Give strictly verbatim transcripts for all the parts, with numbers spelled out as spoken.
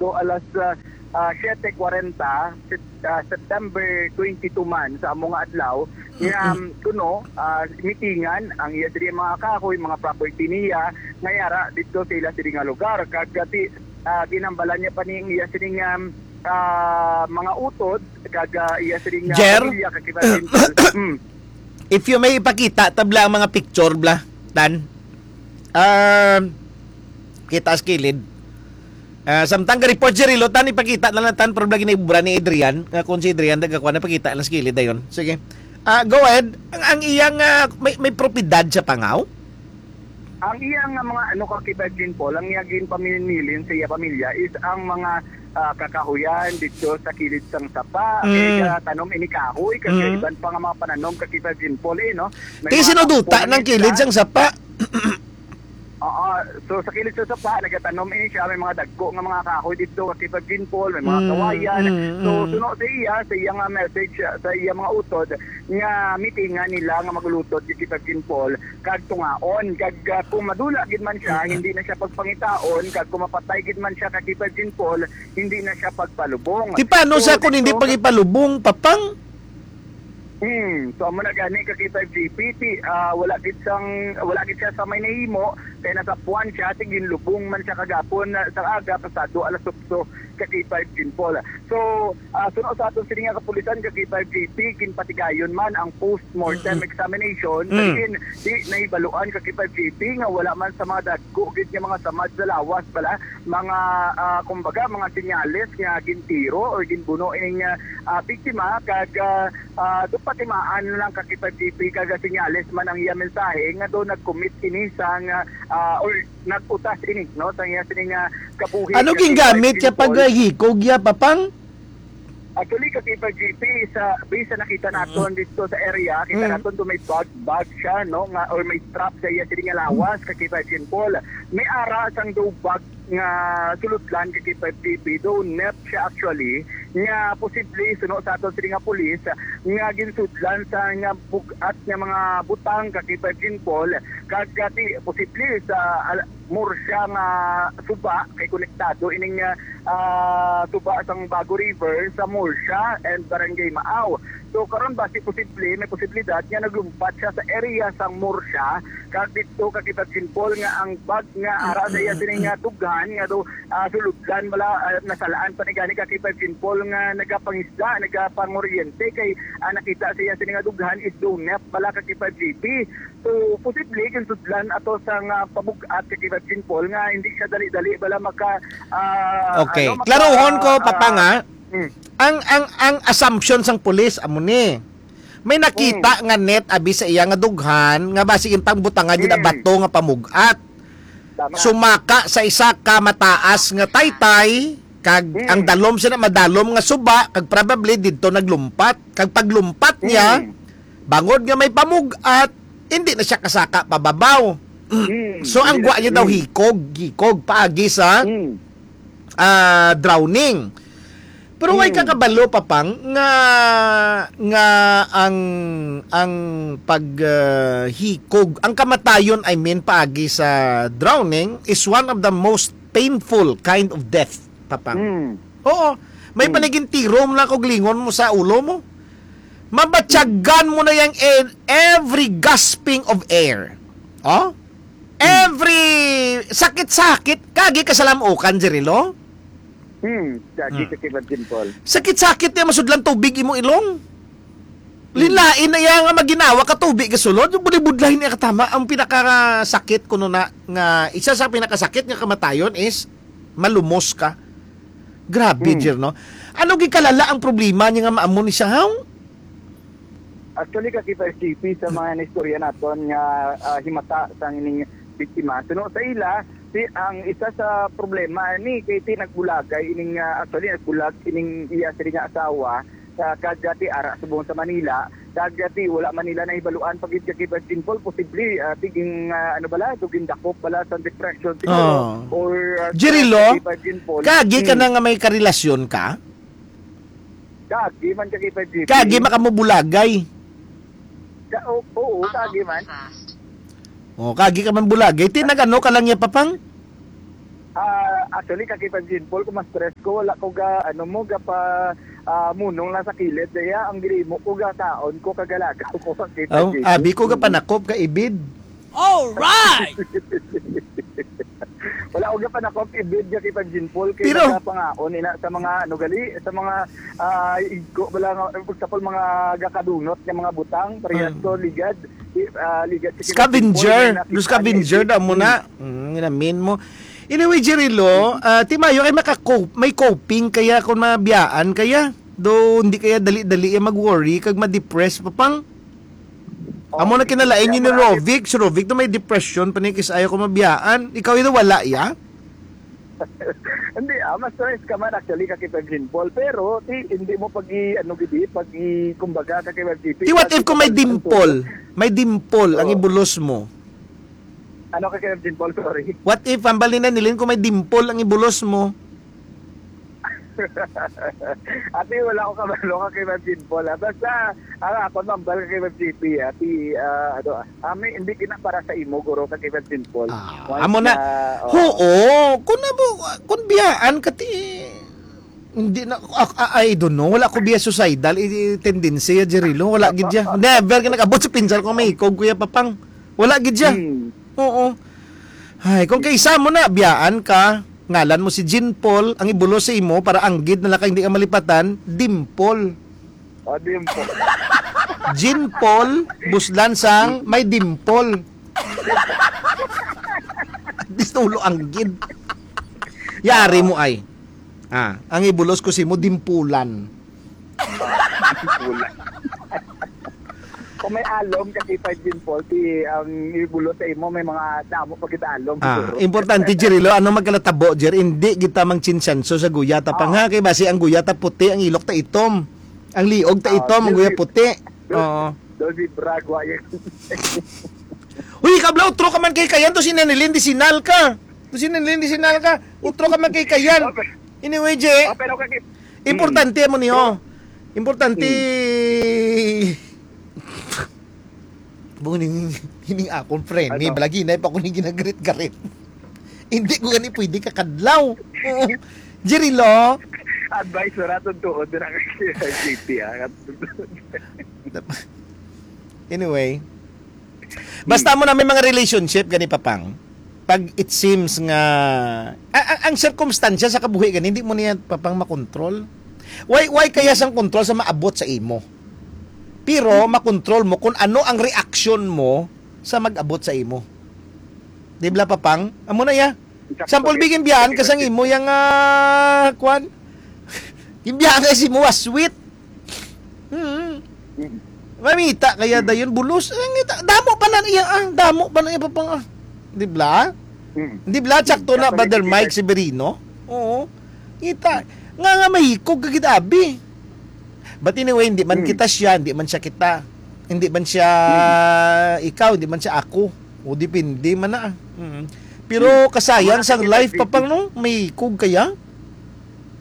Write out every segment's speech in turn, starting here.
So, alas, ah, ah, siyete kwarenta, Sep-, ah, September twenty-two man sa amo nga adlaw, nga, um, kuno, ah, mitingan ang iya sini mga kahoy, mga property niya, nga yara dito sa ila sini nga lugar. Kag, ah, ti-, ah, ginambalan niya pa ni ang iya sini nga, ah, mga utod, kag, ah, iya sini nga Jer? Pamilya, kag kita. Hmm. If you may ipakita, tabla ang mga picture, bla, tan. Ah, kita sa kilid. Ah, samtang ga-report si Rilo, tan ipakita na lang tan, pero lagi na ibura ni Adrian, nga kung si Adrian nagkakuha, ipakita lang sa kilid dayon. Sige. Ah, go ahead. Ang, ang iyang, ah, may, may propiedad sa Pangaw? Ang iyang, ah, mga ano, ka Kibay Jean Paul, ang iya ginpaminilin sa iya pamilya is ang mga, ah, kakahuyan dito sa kilid sang sapa. Mm. Kaya tanom ini kahoy, kag Mm. iban pa nga mga pananom ka Kibay Jean Paul, eh, no? May Kaya mga sinuduta kahoy ng kilid siya. Sang sapa. Oo. So, sa kilid sa sapa, nagatanom ini siya. May mga dagko nga mga kahoy dito, ka Kibay Jean Paul, may mga Mm, kawayan. mm, So, mm. suno sa iya, sa iya nga message, sa iya mga utod, nga mitingan nila nga magulutod si Kibay Jean Paul, kag tungaon. Kag, ah, kung madula gid man siya, Mm. hindi na siya pagpangitaon. Kag kung mapatay gid man siya, ka Kibay Jean Paul, hindi na siya pagpalubong. Ti paano So, sa kung hindi dito, pagipalubong, Papang? Hmm, so amo na gani ka Kibay Jean Paul, ti, ah, wala gid sang, wala gid siya sa may nahimo, kay nasapuan siya, ti ginlubong man siya kagapon, ah, sa aga, pasado alas otso, ka Kibay Jean Paul. So, ah, suno sa aton sini nga kapulisan, ka Kibay Jean Paul, ginpatigayon man ang postmortem Mm-mm. examination, Mm. sa diin, di nahibaluan, ka Kibay Jean Paul, nga wala man sa mga dagko gid nga mga samad sa lawas bala, mga, ah, kumbaga, mga senyales nga gintiro or ginbuno ining, ah, ah, biktima, kag, ah, ah, do patimaan lang ka Kibay Jean Paul, kag senyales man ang iya mensahe nga do nag-commit ini sang, ah, or nag-utas ini, no, sa iya sining, ah, kabuhi Ano nga gingamit siya pag, Paul. ah, hikog ya, Papang? Actually, ka Kibay Jean Paul, sa, based sa nakita naton Mm. dito sa area, kita Mm. naton do may bag, bag siya, no, nga, or may strap sa iya sini nga lawas, ka Kibay Jean Paul. May ara sang do bag nga sulodlan, ka Kibay Jean Paul, do net siya actually, nga posible, suno sa aton sini nga pulis, nga ginsudlan sa nga bug-at nga mga butang, ka Kibay Jean Paul, kag, ah, ti-, posible sa, ah, Murcia nga suba, kay konektado ining, ah, ah, suba sang Bago River sa Murcia and Barangay Maaw. So, karon basi posible, may posibilidad nga naglumpat siya sa area sang Murcia, kag dito ka Kibay Jean Paul nga ang bag nga ara sa iya sini nga dughan nga do, ah, sulodlan bala, ah, nasalaan pa ni gani ka Kibay Jean Paul nga nagapangisda, nagapanguryente kay, ah, nakita sa iya sini nga dughan is do net bala ka Kibay Jean Paul. So, posible, ginsudlan ato sa nga pamug-at kay Kibay Jean Paul nga hindi siya dali-dali bala maka, ah, Okay. ano, maka, Klaruhon ko, ah, Papa, nga. Mm. Ang, ang, ang assumption sang pulis, amo ni. May nakita Mm. nga net abi sa iya nga dughan, nga basi yung pangbutangan yun ang Mm. bato nga pamug-at. Tama. Sumaka sa isa ka mataas nga taytay, kag Mm. ang dalom siya na madalom nga suba, kag probably didto naglumpat. Kag paglumpat niya, Mm. bangod nga may pamug-at, hindi na siya kasaka pababaw. Mm, So, ang hindi gwa na, niya daw mm. hikog, hikog, paagi sa, Mm. ah, drowning. Pero way Mm. kakabalo, Papang, nga, nga ang, ang pag, ah, hikog, ang kamatayon, I mean, paagi sa drowning is one of the most painful kind of death, Papang. Mm. Oo. May Mm. panigin tiro mo lang kag lingon mo sa ulo mo. Mabatyagan mo na yang e-, every gasping of air. Oh? Hmm. Every sakit-sakit, kagi ka sa lamukan, Jirilo? Hmm, kagi Hmm. ka kay Virgin Paul. Sakit-sakit niya masudlan tubig imo ilong. Hmm. Linlain na iya nga maginawa ka tubig ka sulod, yung budlay-budlay niya katama, ang pinakasakit kuno na nga, isa sa pinakasakit nga kamatayon is malumos ka. Grabe, Hmm. Jer, no? Ano gikalala ang problema niya nga maamo ni siya, haw? Actually, ka Kibay J P, sa mga naistorya naton nga, ah, himata sang ining biktima, suno sa ila, si, ang isa sa problema ni kay ti nagbulagay ining, ah, actually, nagbulag ining iya sini nga asawa, sa kag ti ara subong sa Manila, kag ti wala man nila nahibaluan pa gid ka Kibay Jean Paul, posible, ah, tiging, ah, ano bala, so gindakop bala sa depression siguro, Oh. or, ah, Jerry sa Lo, Kibay Jean Paul. Kagi ka Hmm. na nga may karelasyon ka? Kagi man ka Kibay Jean Paul. Kagi makamubulagay. Ka-, o-, oo, kagi man. Oh, kagi ka man bulagay. Ti nag-ano ka lang niya, Papang? Ah, Actually, ka K five Jean Paul, kung ma-stress ko, wala ko ga, ano mo, ga pa, ah, munong lang sa kilid. Kaya ang gili mo ko, ga kaon ko, kagalagaw ko, ka K five Oh, Jean Paul. Abi ko ga panakop ka ibid. All right! Wala ko ga panakop ibid, ka K five Jean Paul, kay Pero nagapangaon ina sa mga, ano gali, sa mga, ah, igko, wala nga, for example, mga gakadunot nga mga butang, parehas Mm. to, ligad, i-, ah, ligad sa K five Jean Paul, Scavenger. nga Yung scavenger nakita niya, daw mo na. Mm, ginamin mo. Anyway, Jerry Lo, ah, ti mayo kay maka-cope, may coping kaya kung mabiyaan kaya. Do hindi kaya dali-dali ya mag-worry kag ma-depress pa pang. Amo na kinalain yun ni Rovic. Si Rovic to may depression pa ni kis ayaw ko mabiyaan. Ikaw yun wala ya? Hindi, ah, mas stress ka man actually ka K five Jean Paul. Pero, ti, hindi mo pag i-, ano gidi, pag i-, kumbaga, ka K five G P, Ti what if kung may dimple? May dimple ang Oo. ibulos mo. Ano ka K five Jean Paul? Sorry. What if, ang bali na nilin kung may dimple ang ibulos mo? Ati, wala ko kabalo ka K five Jean Paul, ah. Basta, ang ako, mambal ka K five G P, ah. Ti, ah, ano, ah. Ah, may, hindi gina para sa imo, guro, ka K five Jean Paul. Ah, Once amo na. na, oo. Oo, kung nabo-, kung biyaan ka, ti, hindi na, ah, ah, I don't know. Wala ko biya suicidal, i-, i-, tendency ya, Jerilo. Wala gid ya. Never ka nag-abot sa pinsar ko, may ikog, Kuya Papang. Wala gid ya. Hmm. Oo. Ay, kung kay isa mo na, biyaan ka, ngalan mo si Jean Paul, ang ibulos sa imo, para anggid na lang ka, hindi ka malipatan, Dimple. Ah, Dimple. Jean Paul, buslan sang may dimple. At least ulo anggid. Yari mo ay. Ah, ang ibulos ko si mo, dimpulan. Wala. Kung may alom, kasi five Jean Paul, ti ang ibulos sa imo, may mga damo pa kita alom, Ah, siguro. Importante, Jerilo, ano magkalatabo, Jer? Hindi kita mangchinsanso sa guyata pa Oo. nga, kay basi ang guyata puti, ang ilok ta itom. Ang liog ta Oo, itom, ang guya Jerry. puti. Dol-, Oo. Dolby Bragwa yan. Uy, kabla, utro ka man kay Kayan, to si Nenelin, di sinal ka. To si Nenelin, di sinal ka. Utro ka man kay Kayan. Okay. Anyway, Je, Oh, pero kaki-, importante mo niyo. Importante. Hmm. Buning, hining akong friend, ni Ano? Balagi na pa ko ning ginagarit-garit. Hindi ko gani pwede kakadlaw. Oo. Jerry Lo. Advice na natin tuod na kay J P, ah. Anyway. Basta mo na may mga relationship, gani, Papang. Pag it seems nga, a-, a-, ang sirkumstansya sa kabuhi, gani, hindi mo niya, Papang, makontrol. Why, why kaya sang kontrol sa maabot sa imo? Pero makontrol mo kung ano ang reaksyon mo sa mag-abot sa imo. Di ba, Papang? Amo na ya. Example, bigyan biyaan ka sang imo yang, ah, kwan. Yung biyaan ka si mo, ah, sweet. Hmm. Mm. Mamita kaya Mm. dayon bulos. Ang ita-, damo pa na iya, ah. Damo pa na iya, Papang, ah. Di ba? Mm. Di ba? Tsakto na, Kapalit Brother si Mike Peter. Severino. Oo. Kita. Nga, nga mahikog ka gid, abi. But anyway, hindi man Hmm. kita siya, hindi man siya kita. Hindi man siya Hmm. ikaw, hindi man siya ako. O depende man na. Mm. Pero Hmm. kasayang Mga sang life, kapatid, Papang, no? May kog kaya?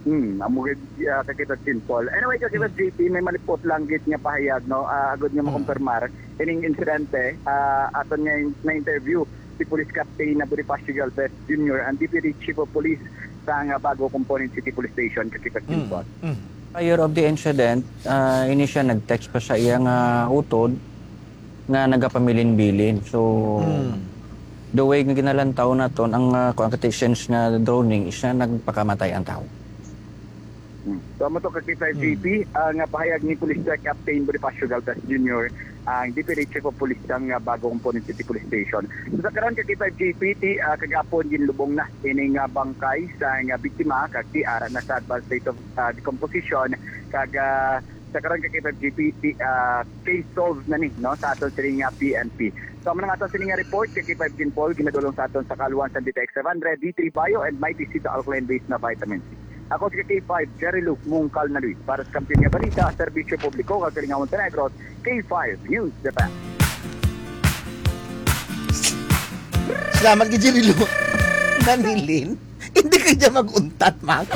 Hmm, amo gid, ah, kakita simple. Anyway, kakita Hmm. J P, may malipot lang gid nga pahayag, no? Ah, agud nga Hmm. makumpirmar ining insidente, ah, aton nga in-, na-interview si Police Captain na Bonifacio Galvez Junior, ang Deputy Chief of Police sa nga bago component City Police Station, kakita Mm, simple. mm. Prior of the incident, ah, ini siya nag-text pa sa iya nga utod nga nagapamilin-bilin. So, Mm. the way nga ginalantaw naton, ang, ah, kuwan, kati sense nga droning, is na nagpakamatay ang tao. Hmm. So, amo to, ka K five Mm. J P, ah, nga pahayag ni Police Chief Captain Bonifacio Galvez Junior, ang Deputy Chief of Police sang, ah, bago component City Police Station. So, sa karon, ka K five J P, ti, ah, kagapon ginlubong na ining, ah, bangkay sang, ah, biktima, kag ti ara na sa advanced state of, ah, decomposition, kag, ah, sa karon, ka K five J P, ti, ah, case solved na ni, no, sa aton sini nga P N P. So, amo na nga aton sini nga report, ka K five Jean Paul, ginadulong sa aton sa kaluan sa D T X five hundred, D three Bio, and Mighty C, the alkaline base na vitamin C. Ako si K five, Jerry Luke Mungkal na Luis. Para sa Kampiyon nga Balita, Serbisyo Publiko, Kagalingaw, Montenegro, K five News Japan. Salamat kay Jerry Luke. Nanilin, hindi ka dyan mag-untat, Mac.